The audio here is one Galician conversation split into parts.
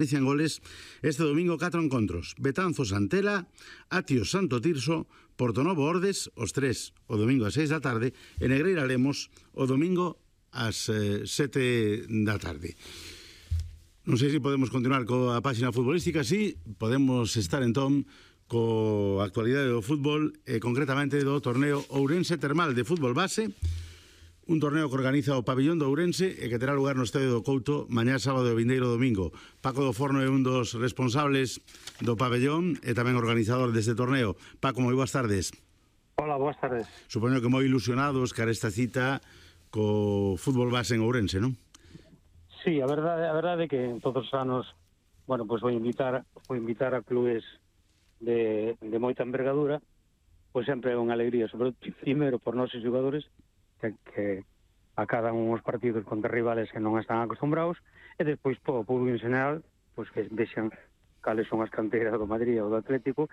Inician goles este domingo 4 encontros: Betanzos Antela, Atios Santo Tirso, Portonovo Ordes, os 3 o domingo ás 6 da tarde, e Negreira Lemos o domingo ás 7 da tarde. Non sei se podemos continuar coa páxina futbolística. Sí, podemos estar entón coa actualidade do fútbol e concretamente do torneo Ourense Termal de fútbol base, un torneo que organiza o Pabillón de Ourense e que terá lugar no Estadio do Couto mañá sábado e vindeiro domingo. Paco do Forno é un dos responsables do pabellón e tamén organizador deste torneo. Paco, moi boas tardes. Hola, boas tardes. Supoño que moi ilusionados cara esta cita co fútbol base en Ourense, non? Sí, a verdade é que todos os anos, bueno, pois vou invitar a clubes de moita envergadura, pois sempre é unha alegría, sobre todo primeiro por nosos xogadores que acadan uns partidos contra rivales que non están acostumbrados, e despois po público en general, pois que vexan cales son as canteiras do Madrid ou do Atlético,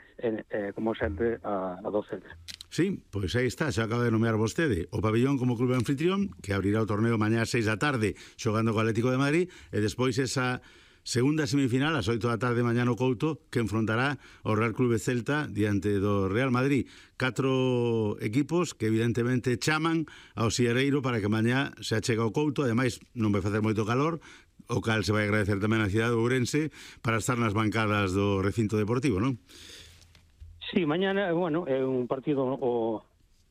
como sempre a do Celta. Sí, pois aí está, xa acaba de nomear vostede o Pabillón como clube anfitrión, que abrirá o torneo mañá ás 6 da tarde xogando co Atlético de Madrid, e despois esa segunda semifinal ás 8 da tarde mañá no Couto, que enfrontará o Real Clube Celta diante do Real Madrid. 4 equipos que evidentemente chaman ao Sierreiro para que mañá se achega ao Couto. Ademais non vai facer moito calor, o cal se vai agradecer tamén a cidade de Ourense para estar nas bancadas do recinto deportivo, non? Sí, mañana, bueno, é un partido o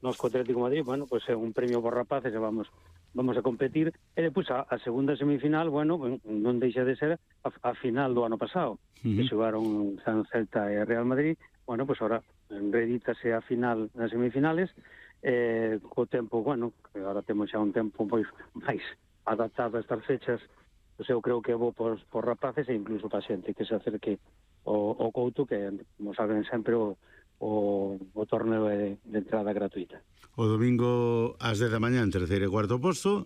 noso Atlético de Madrid, bueno, pois é un premio por rapaces e vamos a competir, e depois a segunda semifinal, bueno, non deixa de ser a final do ano pasado, que xogaron San Celta e Real Madrid. Bueno, pois ahora redítase a final nas semifinales, co tempo, bueno, que agora temos xa un tempo pois máis adaptado a estas fechas, pois eu creo que vou por rapaces e incluso para xente que se acerque o Couto, que, como saben sempre, o torneo é de entrada gratuita. O domingo ás 10 da mañán, terceiro e cuarto posto,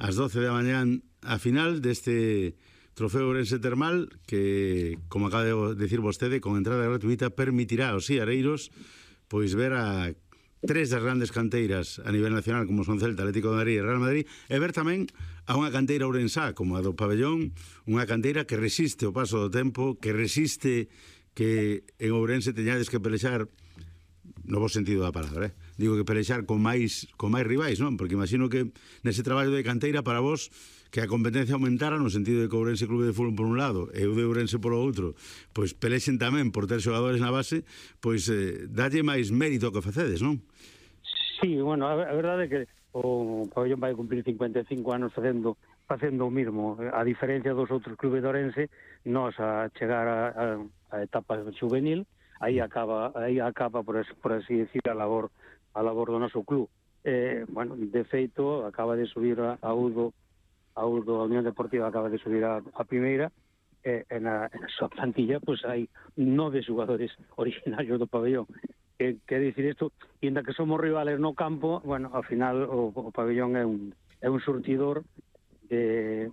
ás 12 da mañán a final deste trofeo Ourense Termal, que, como acaba de decir vostede, con entrada gratuita permitirá aos siareiros pois ver a 3 das grandes canteiras a nivel nacional, como son Celta, Atlético de Madrid e Real Madrid, e ver tamén a unha canteira ourensá como a do Pabellón, unha canteira que resiste o paso do tempo, que resiste que en Ourense teñades que pelexar, no bo sentido da palabra, digo que pelexar con máis rivais, non? Porque imagino que nese traballo de canteira para vos que a competencia aumentara no sentido de que Ourense Clube de Fútbol por un lado e o de Ourense polo outro, pois pelexen tamén por ter xogadores na base, pois dalle máis mérito que facedes, non? Sí, bueno, a verdade é que o Pabellón vai cumprir 55 anos facendo o mismo. A diferencia dos outros clubes de Ourense, nós a chegar a etapa juvenil, aí acaba por así decir a labor do noso club. Bueno, de feito acaba de subir a Udo, a Unión Deportiva acaba de subir a primeira, e na súa plantilla pois hai 9 xogadores originarios do Pabellón. Quer dicir isto, inda que somos rivales no campo, bueno, ao final o Pabellón é un surtidor de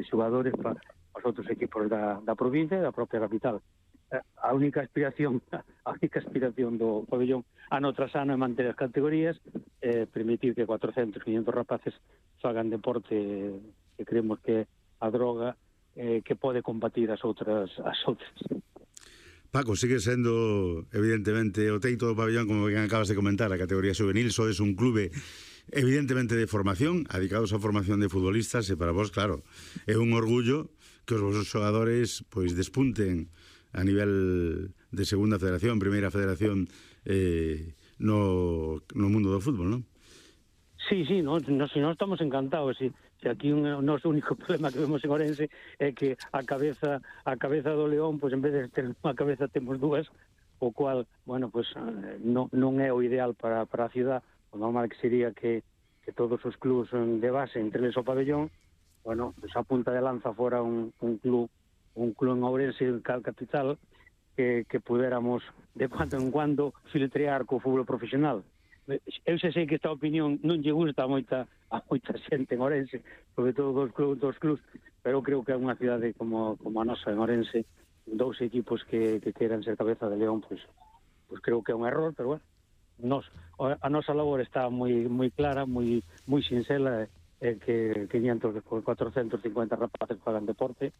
xogadores para os outros equipos da provincia e da propia capital. A única aspiración do Pabellón ano tras ano é manter as categorías, permitir que 400, 500 rapaces fagan deporte, que creemos que a droga que pode combatir as outras. Paco, sigue sendo evidentemente o teito do Pabellón, como ben acabas de comentar, a categoría juvenil. Sodes un clube evidentemente de formación, dedicados á formación de futbolistas, e para vos, claro, é un orgullo que os vosos xogadores pois despunten a nivel de segunda federación, primeira federación no mundo do fútbol, non? Sí, nós estamos encantados. Si aquí o noso único problema que vemos en Ourense é que a cabeza do león, pois en vez de ter unha cabeza temos dúas, o cual, bueno, pois non é o ideal para a ciudad. O normal que sería que todos os clubs de base, entre eles o Pabellón, bueno, pois a punta de lanza fora un club en Ourense, en cal capital, que pudéramos de cuando en cuando filtrear co fútbol profesional. Eu sei que esta opinión non lle gusta a moita xente en Ourense, sobre todo dos clubs, pero creo que é unha cidade como a nosa en Ourense, 2 equipos que queran ser cabeza de león, pois creo que é un error, pero bueno, a nosa labor está moi clara, moi sinxela, que 500, 450 rapaces fagan deporte,